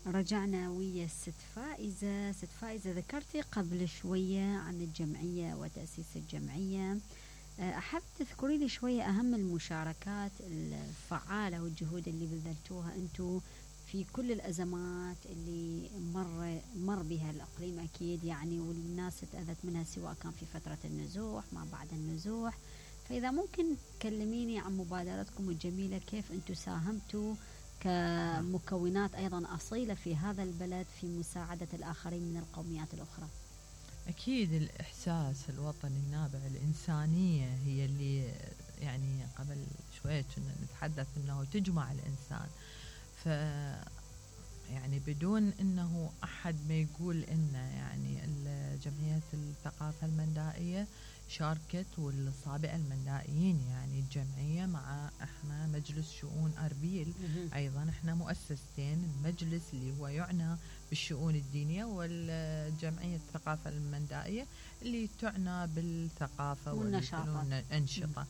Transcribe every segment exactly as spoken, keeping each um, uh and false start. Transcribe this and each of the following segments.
رجعنا ويا الست فائزة. ست فائزة، ذكرتي قبل شوية عن الجمعية وتأسيس الجمعية. أحب تذكري لي شوية أهم المشاركات الفعالة والجهود اللي بذلتوها أنتو في كل الأزمات اللي مر مر بها الإقليم أكيد يعني، والناس اتأذت منها سواء كان في فترة النزوح ما بعد النزوح. فإذا ممكن تكلميني عن مبادرتكم الجميلة، كيف أنتو ساهمتوا كمكونات أيضا أصيلة في هذا البلد في مساعدة الآخرين من القوميات الأخرى. أكيد الإحساس الوطني النابع، الإنسانية هي اللي يعني قبل شوية كنا نتحدث أنه تجمع الإنسان. ف يعني بدون أنه أحد ما يقول إنه يعني جمعية الثقافة المندائية شاركت، والصابئة المندائيين يعني الجمعية مع إحنا مجلس شؤون أربيل أيضا، إحنا مؤسستين، المجلس اللي هو يعنى بالشؤون الدينية، والجمعية الثقافة المندائية اللي تعنى بالثقافة والأنشطة.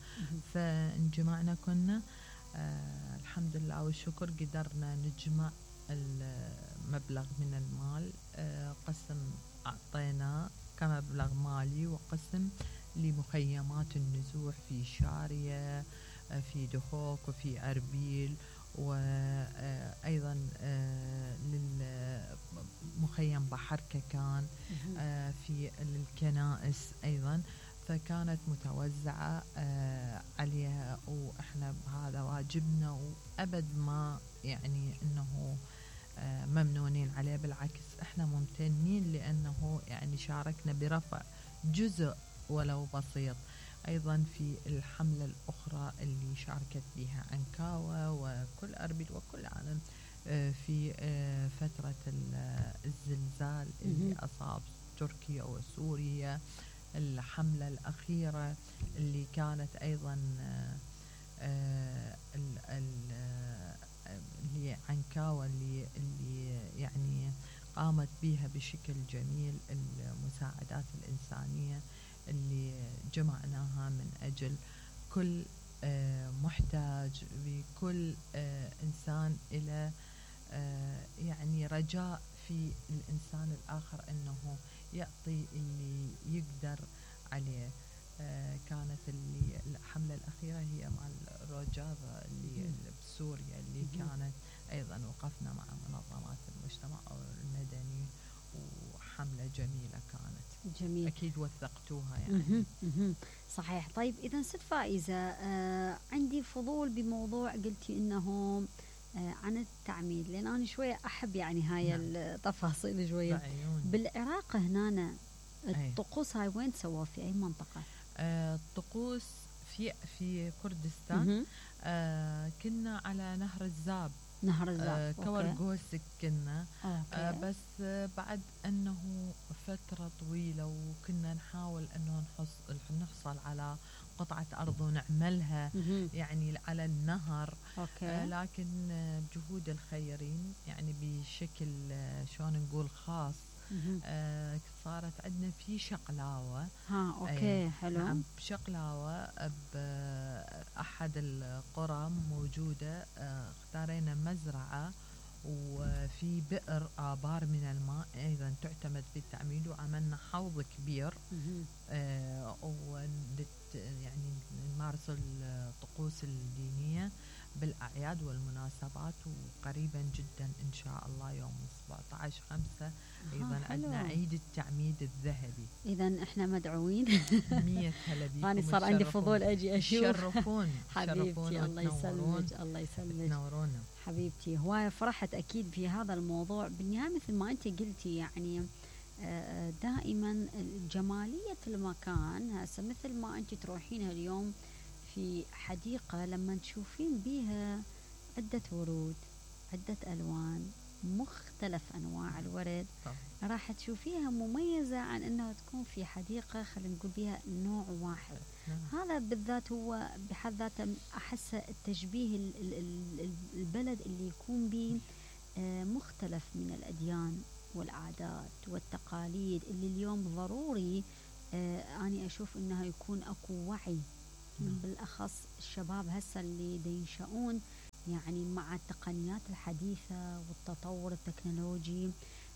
فانجمعنا كنا آه الحمد لله والشكر قدرنا نجمع المبلغ من المال. آه قسم أعطينا كمبلغ مالي، وقسم لمخيمات النزوح في شارية، في دخوك، وفي أربيل، وأيضا للمخيم بحر ككان في الكنائس أيضا. فكانت متوزعة عليها، وإحنا بهذا واجبنا، وأبد ما يعني أنه ممنونين عليه، بالعكس إحنا ممتنين لأنه يعني شاركنا برفع جزء ولو بسيط. أيضا في الحملة الأخرى اللي شاركت بها عنكاوة وكل أربيل وكل عالم في فترة الزلزال اللي أصاب تركيا وسوريا، الحملة الأخيرة اللي كانت أيضا اللي عنكاوة اللي, اللي يعني قامت بها بشكل جميل، المساعدات الإنسانية اللي جمعناها من أجل كل محتاج، بكل إنسان إلى يعني رجاء في الإنسان الآخر أنه يعطي اللي يقدر عليه. كانت اللي الحملة الأخيرة هي مع الرجاضة اللي بسوريا، اللي كانت أيضا وقفنا مع منظمات المجتمع المدني، وحملة جميلة كانت. جميل. أكيد وثقتوها يعني. صحيح. طيب إذا ست فائزة، آه عندي فضول بموضوع قلتي إنه آه عن التعميد، لأن أنا شوية أحب يعني هاي نعم. التفاصيل شوية. بالعراق هنا الطقوس هاي وين سووا، في أي منطقة؟ آه الطقوس في في كردستان. آه كنا على نهر الزاب. نهر الزاب. آه كورغوسك كنا. آه بس آه بعد أنه فترة طويلة، وكنا نحاول أنه نحصل نحصل على قطعة أرض ونعملها يعني على النهر. آه لكن آه بجهود الخيرين يعني بشكل آه شلون نقول خاص، آه صارت عندنا في شقلاوة. ها أوكي. حلو. نعم بشقلاوة بأحد القرى موجودة. آه اختارينا مزرعة وفي بئر آبار من الماء أيضا تعتمد في التعميد، وعملنا حوض كبير. آه ونت يعني نمارس الطقوس الدينية بالأعياد والمناسبات، وقريبا جدا إن شاء الله يوم سبعة عشر خمسة أيضا عندنا عيد التعميد الذهبي. إذا إحنا مدعوين. مية هلا بيكم. أنا صار عندي فضول أجي أشوف. شرفون حبيبتي. الله يسلمك. الله يسلمك. تنورونا حبيبتي. هواية فرحت أكيد في هذا الموضوع. بالنهاية مثل ما أنت قلتي يعني دائما جمالية المكان، هسه مثل ما أنت تروحين اليوم في حديقة لما تشوفين بيها عدة ورود، عدة ألوان، مختلف أنواع الورد، راح تشوفيها مميزة عن أنها تكون في حديقة خلينا نقول بيها نوع واحد. هذا بالذات هو بحد ذاته أحس التشبيه البلد اللي يكون به مختلف من الأديان والعادات والتقاليد، اللي اليوم ضروري أنا أشوف أنها يكون أكو وعي، بالأخص الشباب هسه اللي ينشأون يعني مع التقنيات الحديثة والتطور التكنولوجي.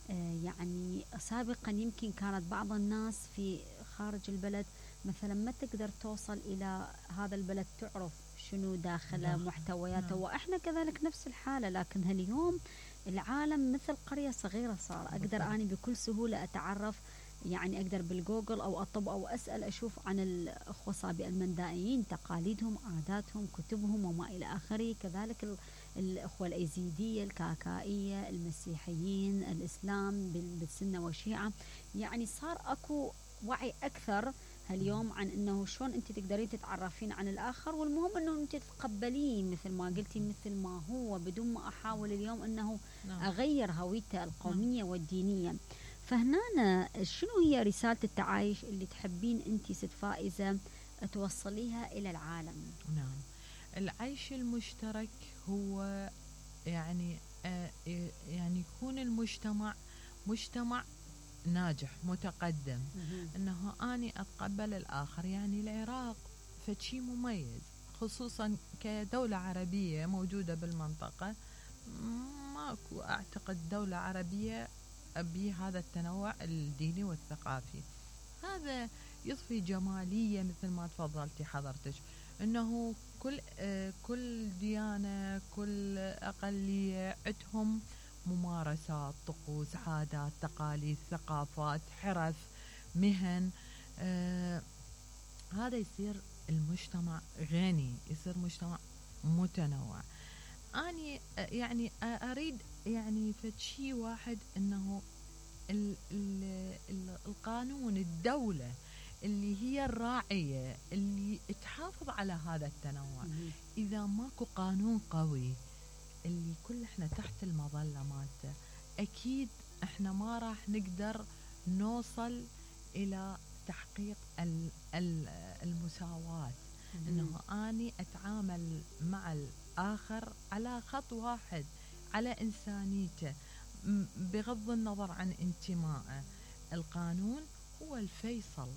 آه، يعني سابقا يمكن كانت بعض الناس في خارج البلد مثلا ما تقدر توصل إلى هذا البلد تعرف شنو داخله داخل. محتوياته، نعم. وإحنا كذلك نفس الحالة. لكن اليوم العالم مثل قرية صغيرة صار، أقدر بالضبط. أنا بكل سهولة أتعرف، يعني أقدر بالجوجل أو أطب أو أسأل أشوف عن الأخوة صابئ المندائيين، تقاليدهم، عاداتهم، كتبهم وما إلى آخره. كذلك ال- الأخوة الأيزيدية، الكاكائية، المسيحيين، الإسلام بال- بالسنة والشيعة. يعني صار أكو وعي أكثر اليوم عن أنه شلون أنت تقدرين تتعرفين عن الآخر، والمهم أنه أنت تتقبلين مثل ما قلتي مثل ما هو، بدون ما أحاول اليوم أنه نعم. أغير هويته القومية والدينية. فهنا شنو هي رسالة التعايش اللي تحبين أنت ست فائزة توصليها إلى العالم؟ نعم. العيش المشترك هو يعني آه يعني يكون المجتمع مجتمع ناجح متقدم، انه اني اتقبل الاخر. يعني العراق فشي مميز خصوصا كدولة عربية موجودة بالمنطقة، ماكو اعتقد دولة عربية بهذا التنوع الديني والثقافي. هذا يضفي جمالية مثل ما تفضلتي حضرتك، انه كل آه كل ديانة كل اقلية عندهم ممارسات، طقوس، عادات، تقاليد، ثقافات، حرف، مهن. آه هذا يصير المجتمع غني، يصير مجتمع متنوع. أني يعني أريد يعني فشي واحد أنه ال ال ال القانون، الدولة اللي هي الراعية اللي تحافظ على هذا التنوع. إذا ماكو قانون قوي اللي كل احنا تحت المظلة مالته، أكيد احنا ما راح نقدر نوصل إلى تحقيق ال ال المساواة. إنه أني أتعامل مع الآخر على خط واحد، على إنسانيته، بغض النظر عن انتمائه. القانون هو الفيصل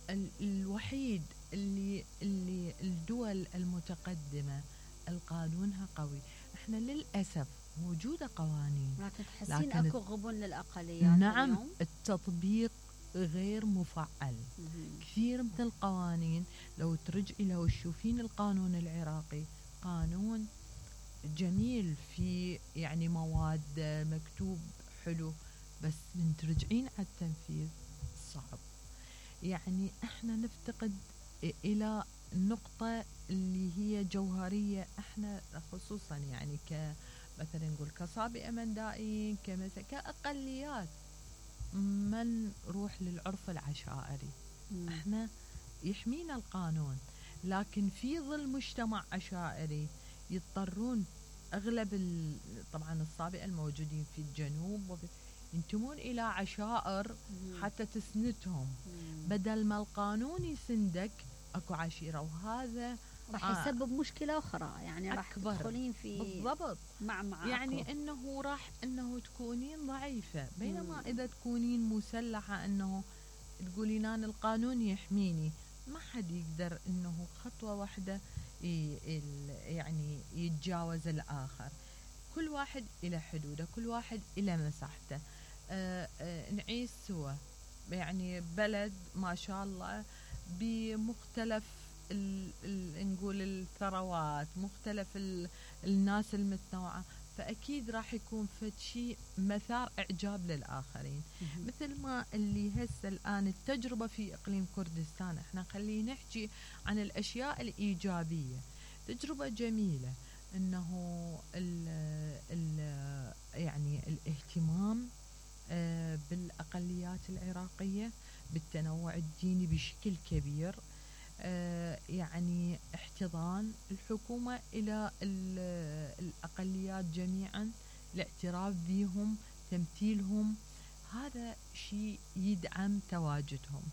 ال الوحيد اللي اللي الدول المتقدمة القانونها قوي. احنا للأسف موجودة قوانين، لكن تحسين اكو غبن للأقليات نعم اليوم؟ التطبيق غير مفعل. مم. كثير من القوانين لو ترجعي لو تشوفين القانون العراقي قانون جميل، في يعني مواد مكتوب حلو، بس من ترجعين على التنفيذ صعب. يعني احنا نفتقد الى نقطة اللي هي جوهرية. احنا خصوصا يعني ك مثلا نقول كصابئة مندائيين، كمثلا كأقليات، من نروح للعرف العشائري. مم. احنا يحمينا القانون، لكن في ظل مجتمع عشائري يضطرون اغلب ال... طبعا الصابئة الموجودين في الجنوب وفي... ينتمون الى عشائر مم. حتى تسندهم. مم. بدل ما القانون يسندك اكو عشيرة، وهذا راح آه يسبب مشكلة أخرى، يعني راح أكبر. تدخلين في بالضبط. مع مع يعني أكو. انه راح انه تكونين ضعيفة، بينما مم. اذا تكونين مسلحة انه تقولين انا القانون يحميني، ما حد يقدر انه خطوة واحدة يعني يتجاوز الاخر. كل واحد الى حدوده، كل واحد الى مساحته. آآ آآ نعيش سوا، يعني بلد ما شاء الله بمختلف ال ال نقول الثروات، مختلف ال الناس المتنوعة، فأكيد راح يكون فد شيء مثار إعجاب للآخرين. مثل ما اللي هسه الآن التجربة في إقليم كردستان، احنا خلينا نحكي عن الأشياء الإيجابية. تجربة جميلة انه ال ال يعني الاهتمام بالاقليات العراقيه، بالتنوع الديني بشكل كبير، يعني احتضان الحكومه الى الاقليات جميعا، الاعتراف بهم، تمثيلهم، هذا شيء يدعم تواجدهم.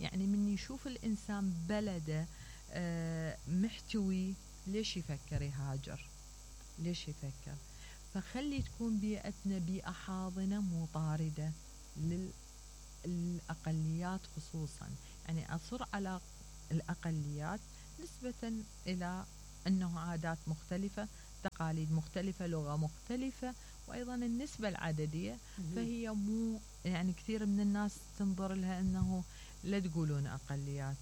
يعني من يشوف الانسان بلده محتوي، ليش يفكر يهاجر؟ ليش يفكر؟ فخلي تكون بيئتنا بيئة حاضنة مو طاردة للأقليات خصوصا. يعني أصر على الأقليات نسبة إلى أنه عادات مختلفة، تقاليد مختلفة، لغة مختلفة، وأيضا النسبة العددية. فهي مو يعني كثير من الناس تنظر لها أنه لا تقولون أقليات،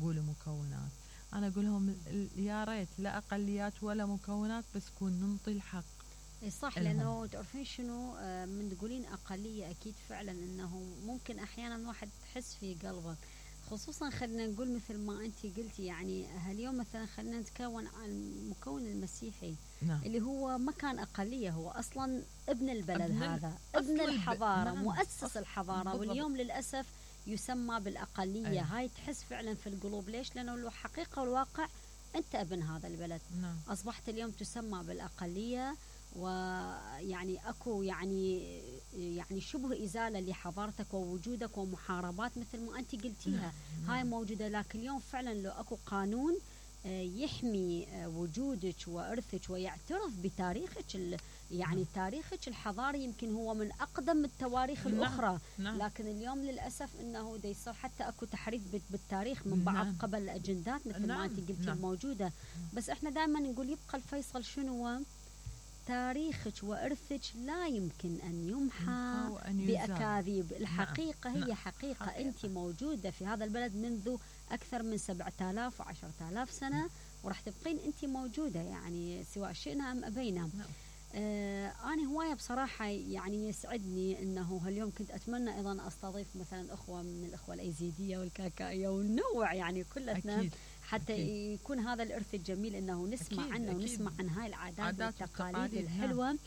قولوا مكونات. أنا أقول لهم يا ريت لا أقليات ولا مكونات، بس كون ننطي الحق. صح، لأنه تعرفين شنو، من تقولين أقلية أكيد فعلا أنه ممكن أحيانا واحد تحس في قلبه، خصوصا خلينا نقول مثل ما أنت قلتي، يعني هاليوم مثلا خلينا نتكون عن المكون المسيحي. نعم. اللي هو ما كان أقلية، هو أصلا ابن البلد، ابن هذا ابن الحضارة، نعم. مؤسس الحضارة، بالضبط. واليوم للأسف يسمى بالأقلية. أيه. هاي تحس فعلا في القلوب. ليش؟ لأنه الحقيقة والواقع أنت ابن هذا البلد. نعم. أصبحت اليوم تسمى بالأقلية، ويعني اكو يعني يعني شبه ازاله لحضارتك ووجودك، ومحاربات مثل ما انت قلتيها. نعم. هاي موجوده، لكن اليوم فعلا لو اكو قانون يحمي وجودك وارثك ويعترف بتاريخك، يعني نعم. تاريخك الحضاري يمكن هو من اقدم التواريخ. نعم. الاخرى. نعم. لكن اليوم للاسف انه دا يصير حتى اكو تحريف بالتاريخ من بعض. نعم. قبل الاجندات مثل نعم. ما انت قلتي. نعم. موجوده. بس احنا دائما نقول يبقى الفيصل شنو؟ تاريخك وإرثك لا يمكن أن يمحى بأكاذيب. الحقيقة نعم. هي حقيقة. حقيقة. أنت موجودة في هذا البلد منذ أكثر من سبعة آلاف وعشرة آلاف سنة، وراح تبقين أنت موجودة، يعني سواء شئنا أم أبينا. نعم. آه أنا هواية بصراحة يعني يسعدني أنه هاليوم كنت أتمنى أيضا أستضيف مثلا أخوة من الأخوة الأيزيدية والكاكائية ونوع يعني كلتنا. أكيد. حتى أكيد. يكون هذا الإرث الجميل أنه نسمع أكيد. عنه أكيد. ونسمع عن هاي العادات والتقاليد الحلوة. نعم.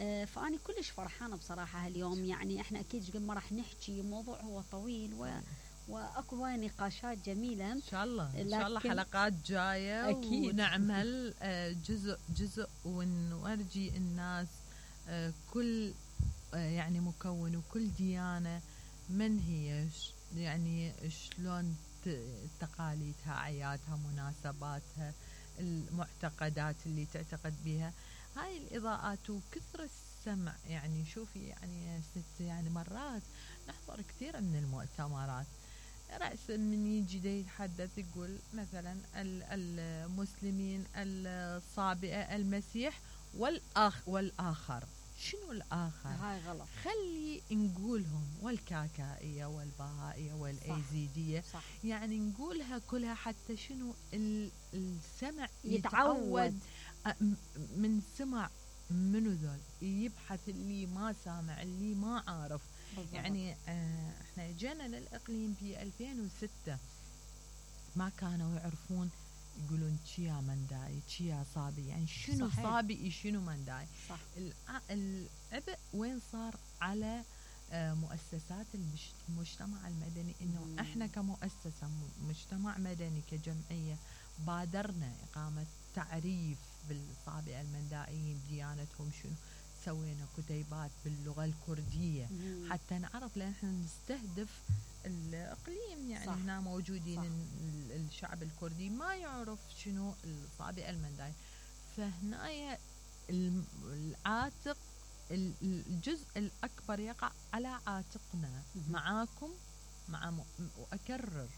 آه فأنا كلش فرحانة بصراحة هاليوم. يعني إحنا أكيد قبل ما راح نحكي، موضوع هو طويل و واكو هواي نقاشات جميله. ان شاء الله ان شاء الله حلقات جايه أكيد. ونعمل جزء جزء ونورجي الناس كل يعني مكون وكل ديانه من هي، يعني شلون تقاليدها، اعيادها، مناسباتها، المعتقدات اللي تعتقد بها. هاي الاضاءات وكثر السمع. يعني شوفي يعني ست يعني مرات نحضر كثير من المؤتمرات، رأسا من يجي دا يتحدث يقول مثلا المسلمين، الصابئة، المسيح، والآخ والآخر. شنو الآخر؟ هاي غلط. خلي نقولهم والكاكائية والبهائية والأيزيدية. صح. صح. يعني نقولها كلها حتى شنو السمع يتعود, يتعود من سمع منو ذول، يبحث اللي ما سامع، اللي ما عارف. بالضبط. يعني آه احنا جينا للإقليم في ألفين وستة، ما كانوا يعرفون يقولون تشيا منداي، تشيا صابي، يعني شنو صحيح. صابي شنو منداي. صح. العبء وين صار على آه مؤسسات المجتمع المدني، انه مم. احنا كمؤسسة مجتمع مدني كجمعية بادرنا إقامة تعريف بالصابئة المندائيين، ديانتهم شنو، سوينا كتيبات باللغة الكردية. مم. حتى نعرف، لأن احنا نستهدف الإقليم، يعني صح. هنا موجودين صح. الشعب الكردي ما يعرف شنو الصابئة المندائي. فهنا العاتق، الجزء الأكبر يقع على عاتقنا. مم. معاكم مع م... وأكرر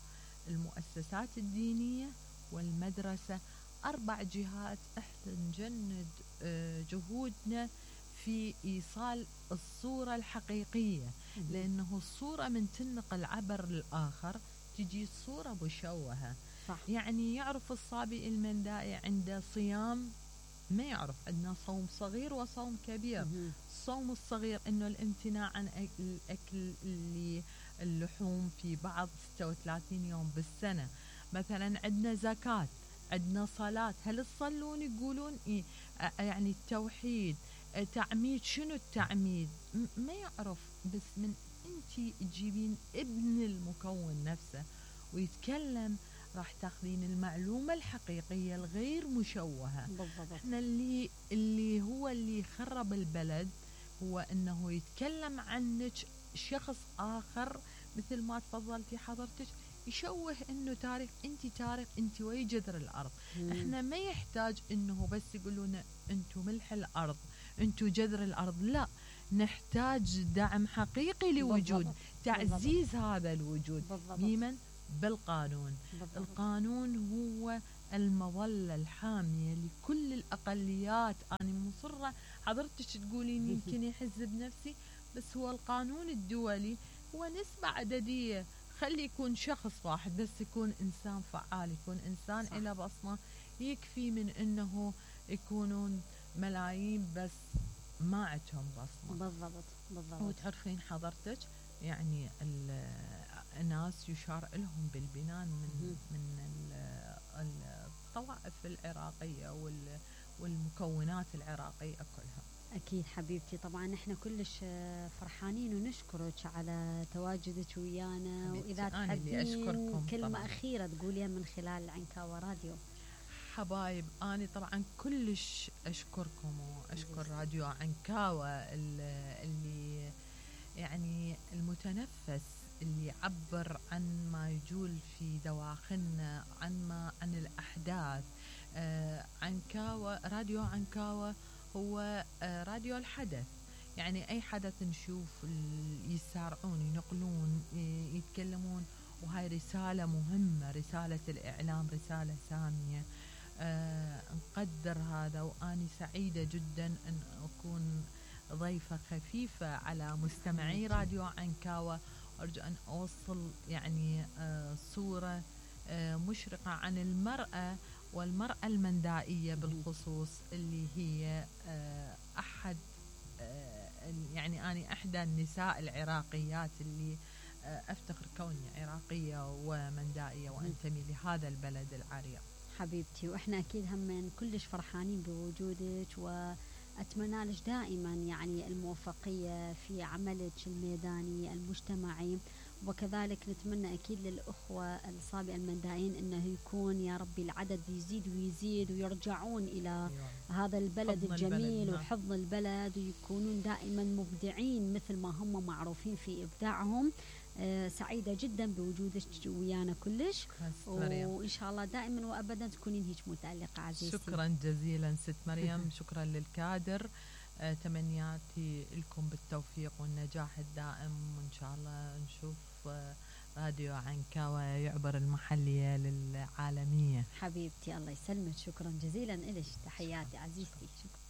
المؤسسات الدينية والمدرسة، أربع جهات احنا نجند جهودنا في إيصال الصورة الحقيقية. مم. لأنه الصورة من تنقل عبر الآخر تجي صورة مشوهة. صح. يعني يعرف الصابئ المندائي عنده صيام، ما يعرف عندنا صوم صغير وصوم كبير. مم. الصوم الصغير إنه الامتناع عن الأكل اللي اللحوم في بعض ستة وثلاثين يوم بالسنة. مثلا عندنا زكاة، عندنا صلاة، هل تصلون يقولون إيه؟ يعني التوحيد، تعميد. شنو التعميد؟ ما يعرف. بس من انتي تجيبين ابن المكون نفسه ويتكلم، راح تاخذين المعلومة الحقيقية الغير مشوهة. بالضبط. احنا اللي اللي هو اللي خرب البلد هو انه يتكلم عنك شخص اخر، مثل ما تفضلتي حضرتك، يشوه انه تاريخ، انت تاريخ، انت وي جذر الارض. مم. احنا ما يحتاج انه بس يقولون انتو ملح الارض، انتو جذر الارض، لا، نحتاج دعم حقيقي لوجود. بالضبط. تعزيز بالضبط. هذا الوجود. بالضبط. بمن؟ بالقانون. بالضبط. القانون هو المظلة الحامية لكل الأقليات. أنا مصرة حضرتك تقولين يمكن يحز بنفسي، بس هو القانون الدولي هو نسبة عددية. خلي يكون شخص واحد بس، يكون إنسان فعال، يكون إنسان إله بصمة، يكفي من إنه يكونون ملايين بس ما عندهم بصمة. بالضبط بالضبط. وتعرفين حضرتك يعني الناس يشار لهم بالبنان من من الطوائف العراقية والمكونات العراقية كلها. أكيد حبيبتي، طبعا احنا كلش فرحانين ونشكرك على تواجدك ويانا. وإذا تحبين كلمة طبعاً أخيرة تقوليها من خلال عنكاوة راديو. حبايب، أنا طبعا كلش أشكركم وأشكر راديو عنكاوة اللي يعني المتنفس اللي يعبر عن ما يجول في دواخلنا، عن ما عن الأحداث. آه عنكاوة، راديو عنكاوة هو آه راديو الحدث. يعني أي حدث نشوف يسارعون ينقلون يتكلمون، وهاي رسالة مهمة، رسالة الإعلام، رسالة سامية. آه نقدر هذا، وأني سعيدة جدا أن أكون ضيفة خفيفة على مستمعي راديو عنكاوة. أرجو أن أوصل يعني آه صورة آه مشرقة عن المرأة والمرأة المندائية بالخصوص، اللي هي آه أحد آه يعني أنا إحدى النساء العراقيات اللي آه أفتخر كوني عراقية ومندائية وأنتمي لهذا البلد العريق. حبيبتي، وإحنا أكيد هم كلش فرحانين بوجودك، وأتمنى لك دائما يعني الموفقية في عملك الميداني المجتمعي. وكذلك نتمنى أكيد للأخوة الصابئة المندائيين أنه يكون يا ربي العدد يزيد ويزيد، ويرجعون إلى هذا البلد الجميل وحفظ البلد، ويكونون دائما مبدعين مثل ما هم معروفين في إبداعهم. آه سعيدة جدا بوجودك ويانا كلش، وإن شاء الله دائما وأبدا تكونين هيك متألقة عزيزتي. شكرا جزيلا ست مريم. شكرا للكادر. آه تمنياتي لكم بالتوفيق والنجاح الدائم، وإن شاء الله نشوف آه راديو عنكاوة يعبر المحلية للعالمية. حبيبتي الله يسلمك، شكرا جزيلا إلك، تحياتي عزيزتي. شكرا.